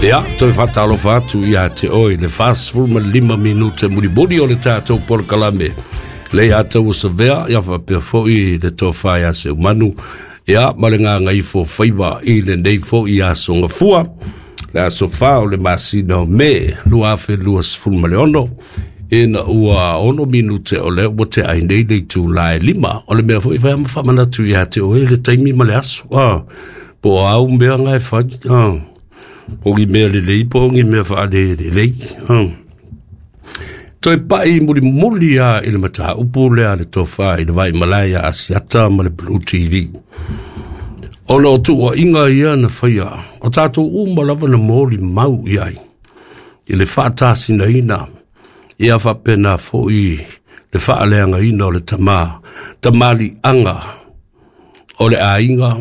Ia, toe faatalofa atu ia te oe i le 45 minute mulimuli o le tatou polokalame. Le ia taua savea, ia faapea foi le tofa ia Seumanu, ia ma le gagaifo faiva i lenei foi aso gafua, le aso 4 o le masina o Me 2026, ina ua 6 minute o lea ua te ai nei le itula e 5. O le mea foi fai ma faamanatu ia te oe le taimi ma le aso. Ah, po o au mea nga e fai. Ah, po o ni mea lelei, po o ni mea faalelelei. Ah. Toe pai mulimuli a i le mataupu lea le tofa i le Vaimalae ia Asiata ma le Blue TV. Ona o tuuaiga ia na faia, o tatou uma lava na molimau i ai i le faatasinaina ia faapena foi le faaleagaina o le tama, tamaliiaga o le aiga,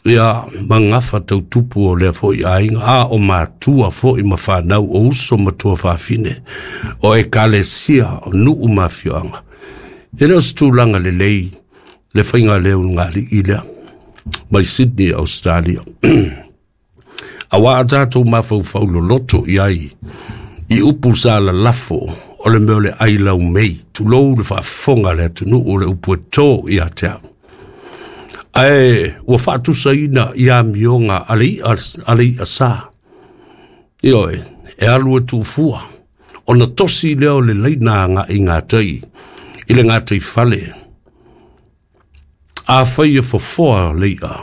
ia ma gafa tautupu o lea foi aiga, a o matua foi ma fanau o uso ma tuafafine, o ekalesia, o nuu ma afioaga. E le o se tulaga lelei le faiga lea o lugalii lea mai Sydney, Australia. Auā a tatou mafaufau loloto i ai i upu sa lalafo o le mea o le ai laumei, tulou le faafofoga a le atunuu o le upu e tō ia te au. Ae ua faatusaina i amioga a le i'a, a le i'a sa. Ioe, e alu e tuufua, ona tosi lea o le laina agai gatai i le gatai fale. Afai e fofoa le i'a,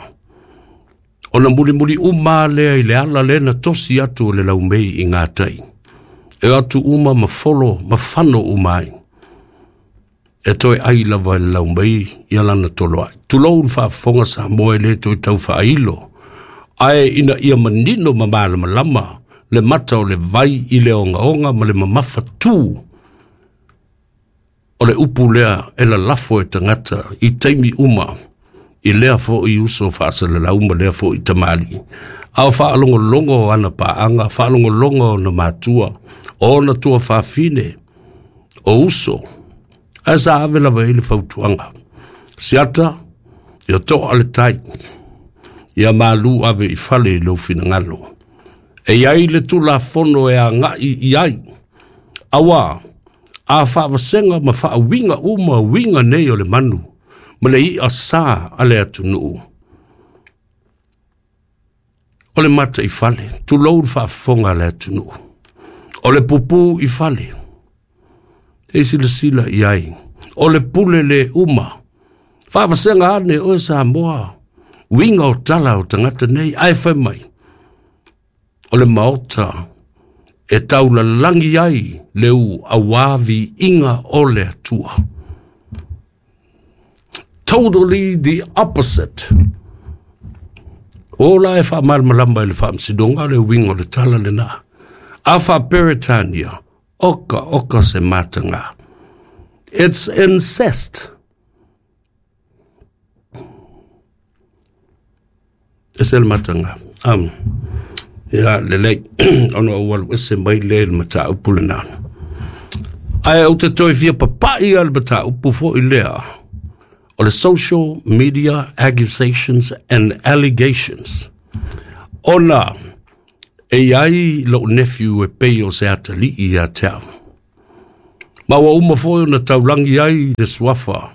ona mulimuli uma lea i le ala lea na tosi atu o le laumei i gatai. E o atu uma ma folo ma fano uma ai. E toe ai lava e le laumei ia lana toloai. Tulou le faafofoga Samoa e le toe tau faailo, ae ina ia manino ma malamalama le mata o le vai i le ogaoga ma le mamafa tu o le upu lea e lalafo e tagata i taimi uma i lea foi uso faasalalau ma lea foi tamalii. A o faalogologo o ana paaga, faalogologo o ona matua, o ona tuafafine, o uso, ae sa ave lava i le fautuaga. Siata, ia toa le tai, ia malu ave i fale i lou finagalo. E i ai le Tulafono e agai i ai, auā a faavasega ma faauiga uma uiga nei o le manu ma le i'a sa a le atunuu, o le mataifale, tulou le faafofoga a le atunuu, o le pupū i fale, e silasila i ai, o le pule le uma, faavasega ane oe Samoa, uiga o tala o tagata nei, ae fai mai, o le maota e taulalagi ai le u auā viiga o le Atua. Totally the opposite. O la e faamalamalama i le faamasinoga le uiga o le tala lena. A faa-Peretania, oka oka se mataga. It's incest. E se le mataga. Ia, lelei, ona ou alu ese mai lea i le mataupu lena. Ae ou te toe fia papai a le mataupu foi lea o le social media accusations and allegations. Ona e i ai lou nephew e pei o se atalii ia te au. Ma ua uma foi ona taulagi ai le suafa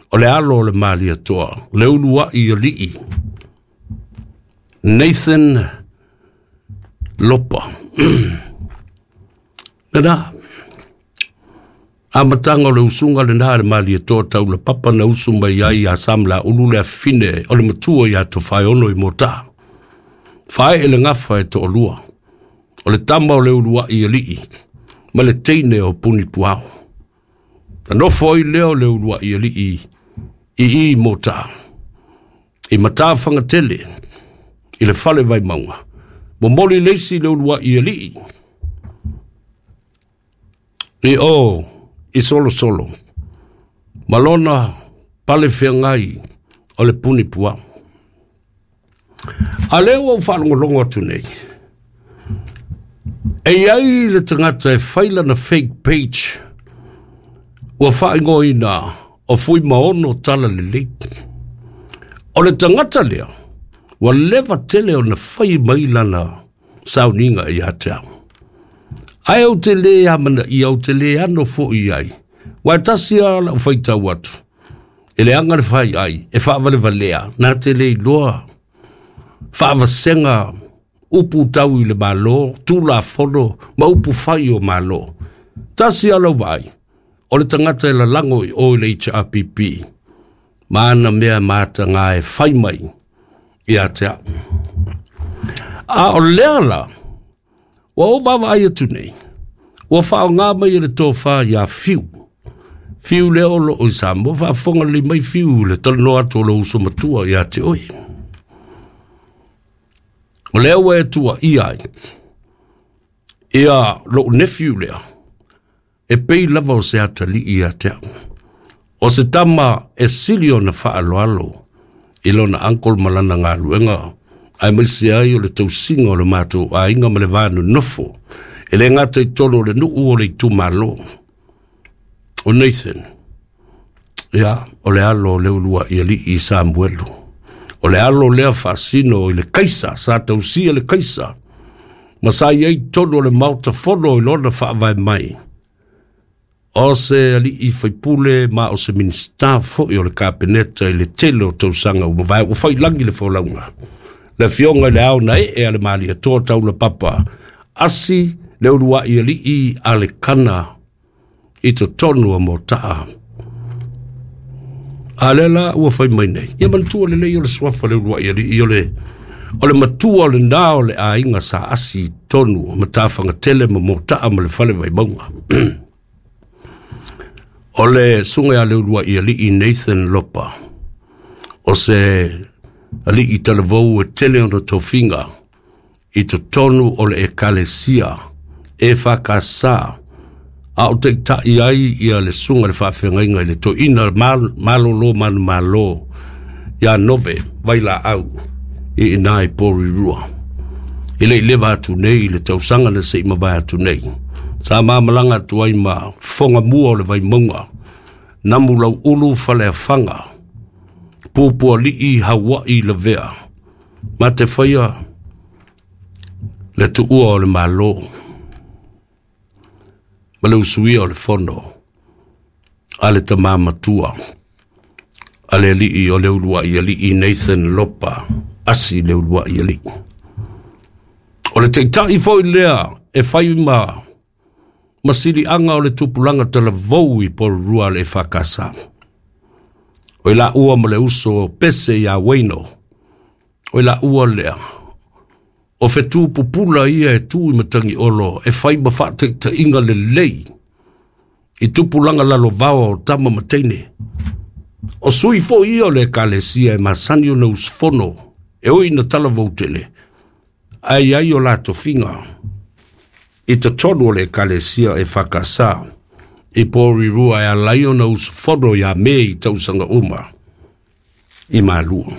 o le alo o le Malietoa, le uluai alii, Nathan Lopa. Lena, amataga o le usuga lena a le Malietoa Taulapapa na usu mai ai ia Samalaulu le afine o le matua ia Tofaeono i Motaa. Faee le gafa e toalua, o le tama o le uluai alii ma le teine o Punipuao. Na nofo ai lea o le uluai alii i i Motaa, i Matafagatele, i le fale Vaimauga. Momoli le isi le uluai alii i o i Solosolo, ma lona pale feagai o le Punipuao. A lea ua ou faalogologo atu nei, e i ai le tagata e fai lana fake page ua faaigoaina o Fuimaono Talalelei. O le tagata lea, ua leva tele ona fai mai lana sauniga ia te au. Ae ou te lē amanaia, ou te lē ano foi i ai, aua e tasi lava lau faitau atu, e leaga le faiai, e faavalevalea, na te le iloa faavasega upu tau i le Malo, Tulafono ma upu fai o Malo. Tasi lava lau vaai, o le tagata e lalago i o i le HRPP, ma ana mea mataga e fai mai ia te au. A o lea la, ua ou vaavaai atu nei, ua faaaoga mai e le tofa ia Fiu. Fiu lea o loo i Samoa, faafofoga lelei mai Fiu i le talanoa atu o lou uso matua ia te oe. O lea ua e tuuaia ai ia lou nephew lea, e pei lava o se atalii ia te au. O se tama e sili ona faaaloalo i lona uncle ma lana galuega, aemaise ai o le tausiga o le matou aiga ma le va nonofo, e le gata i totonu o le nuu o le itumalo. O Nathan, ia, o le alo o Leuluaialii Samuelu. O le alo lea faasino i le Kaisa, sa tausia le Kaisa, ma sa i ai i totonu o le Maota Fono i lona faavae mai. O se alii faipule ma o se Minisita foi o le Kapeneta i le tele o tausaga ua mavae, ua fai lagi le folauga. Le afioga i le ao na ee a le Malietoa Taulapapa, asi Leuluaialii Alekana i totonu o Motaa. A lea la ua fai mai nei, ia manatua lelei o le suafa Leuluaialii o le o le matua lena o le aiga sa asi i totonu o Matafagatele ma Motaa ma le Fale Vaimauga. O le susuga ia Leuluaialii Nathan Lopa, o se alii talavou e tele ona tofiga i totonu o le ekalesia EFKS, a o taitai ai ia le susuga i le faafeagaiga i le toeaina malolo manumalo ia Nove Vailaau i ina i Porirua. E le i leva atu nei i le tausaga na se i mavae atu nei, sa mamalaga atu ai ma fofoga mua o le Vaimauga, Namu Lauulu Faleafaga, Pupualii Hauai Lavea, ma te faia le tuua o le Malo ma le usuia o le fono a le tama matua a le alii o Leuluaialii Nathan Lopa, asi Leuluaialii. O le taitai foi lea e fai ma siliaga o le tupulaga talavou i Porirua le EFKS. O i laua ma le uso Pese ia Waino, o i laua lea, o fetu pupula ia e tu i Matagiolo e fai ma faataitaiga lelei i tupulaga lalovaoa o tama ma teine. O sui foi ia o le ekalesia e masani ona usufono, e ui ina talavou tele, ae i ai o la tofiga i totonu o le ekalesia EFKS i Porirua e ala ai ona usufono ia me i tausaga uma i Malua.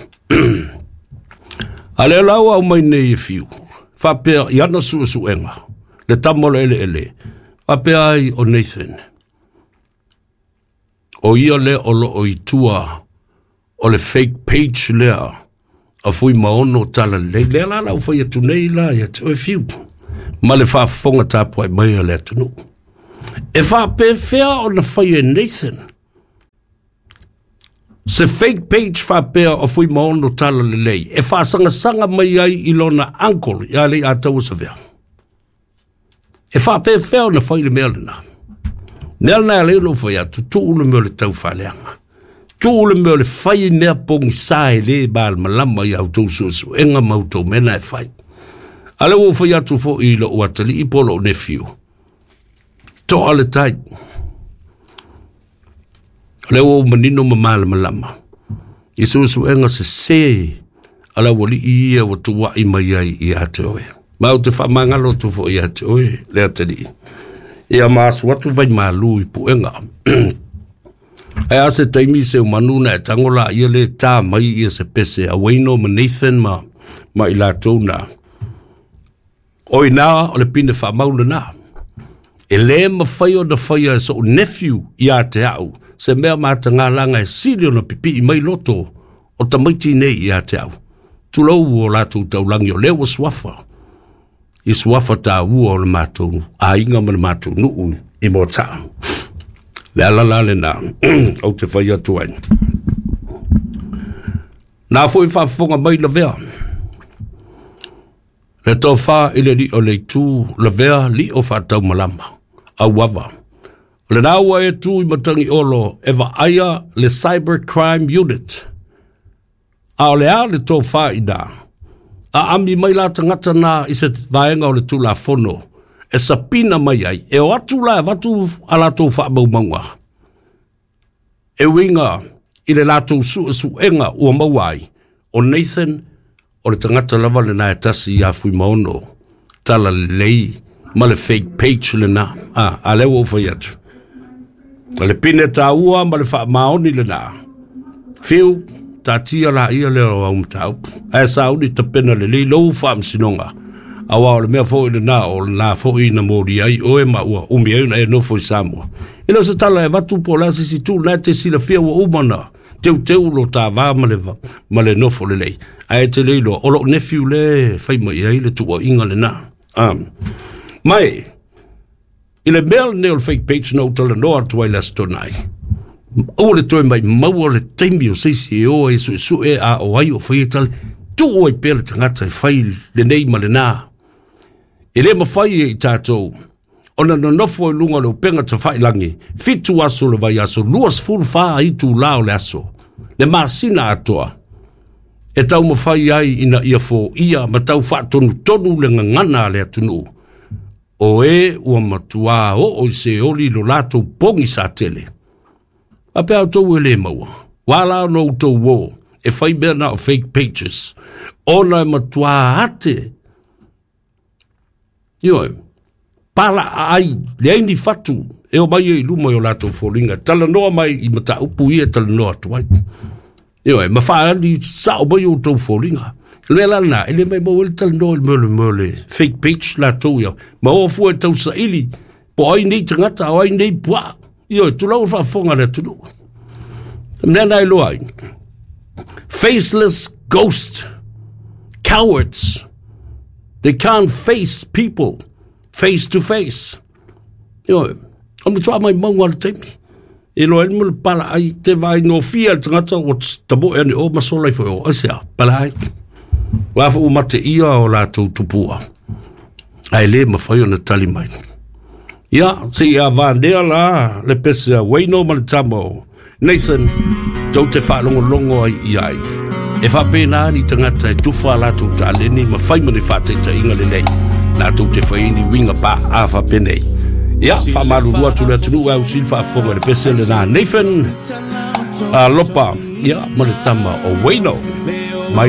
A lea la ua aumai nei e Fiu, faapea i ana suesuega, le tama o le eleele, faapea ai o Nathan, o ia lea o loo i tua o le fake page lea a Fuimaono Talalelei. Lea la lau fai atu nei la ia te oe Fiu, ma le faafofoga tapuai mai a le atunuu. E faapefea ona fai e Nathan se fake page faapea o Fuimaono Talalelei e faasagasagamai ai i lona uncle ia Leiataua Savea? E faapefea ona fai le mea lena? Mea lena e alai ona ou fai atu, tuu le mea o le taufaaleaga. Tuu le mea o le fai mea pogisa e le malamalama i a outou suesuega ma outou mea na e fai. A lea ua ou fai atu foi i lou atalii po o lou nephew, toa le tai. O lea ua ou manino ma malamalama i suesuega sese a le aualii ia ua tuuai mai ai ia te oe. Ma ou te faamagalo atu foi ia te oe le atalii. Ia ma asu atu vai malu i puega. Ae a se taimi Seumanu na e tango la ia le tā mai ia se pese a Waino ma Nathan ma i latou na. O ina o le pine faamau lena. E lē mafai ona faia e so'u nephew ia te au se mea matagalaga e sili ona pipii mai loto o tamaiti nei ia te au. Tulou o latou taulagi o lea ua suafa. i suafa taua o le matou aiga ma le matou nuu i Moataa. Le ala la lena ou te fai atu ai. Na foi faafofoga mai lavea le tofa i le alii o le itu lavea lio faataumalama auava. O lena ua e tu i Matagiolo e vaaia le Cyber Crime Unit. A o le a le tofa i ina? Aami mai la tagata na i se vaega o le Tulafono e sapina mai ai, e o atu la e avatu a latou faamaumauga e uiga i le latou suesuega ua maua ai, o Nathan o le tagata lava lena e tasi ia Fuimaono Talalelei ma le fake page lena. A lea ua ou fai atu. O le pine taua ma le faamaoni lena. Fiu, taatia laia lea o au mataupu. Ae sauni tapena lelei lou faamasinoga. Aua o le mea foi lena o lena foi na molia ai oe ma ua umi ai ona e nofo i Samoa. E le o se tala e avatu po o le a se isi itu, la e te silafia ua uma ona teuteu lo ta va ma le nofo lelei. Ae e te le iloa, o lou nephew le fai mai ai le tuuaiga lena. Mai, i le mea lenei o le fake page na ou talanoa atu ai le Aso Toonai, aua le toe maumau le taimi o se isi e o ai e suesue a o ai o faia tala, tuu ai pea le tagata e fai lenei ma lena. E le mafai e i tatou ona nonofo i luga o le upega tafailagi, 7 aso o le vaiaso, 24 itula o le aso, le masina atoa, e taumafai ai ina ia foia ma tau faatonutonu le gagana a le atunuu, o e ua matuā oo i seoli lo latou pogisa tele. Faapea outou e le maua, ua ala ona outou o e fai mea na o fake pages, ona e matuā ate, ioe, pala ai, leai ni fatu e o mai ai i luma i o latou foliga, talanoa mai i mataupu ia e talanoa atu ai. Ioe, ma faaali sao mai outou foliga. O le mea la lena, e le maumau ai le talanoa i le mea o le fake page latou ia, ma o fua e tausaili, po o ai nei tagata, o ai nei puaa. Ioe, tulou le faafofoga a le atunuu. O le mea lena e iloa ai, faceless ghost, cowards, they can't face people face to face. Ioe, o le matua maumauga o le taimi. E loa ai le pala ai te vai no fia le tagata ua tamoe ane o ma sola ifo e o. Aisea, pala ai. Ua fo ua mate ia o latou tupua. Ae le mafai ona tali mai. Ia, se i avanea la le pese a Wayno ma le tama o Nathan, tou te faalogologo ai i ai. E faapena ni tagata e tufa a latou taleni ma fai ma ni faataitaiga lelei. Latou te fai ni uiga paa faapenei. Ia, faamalulu atu le atunuu e ausili faafofoga i le pese lena Nathan Alopa, ia, ma le tama o Wayno. Mai.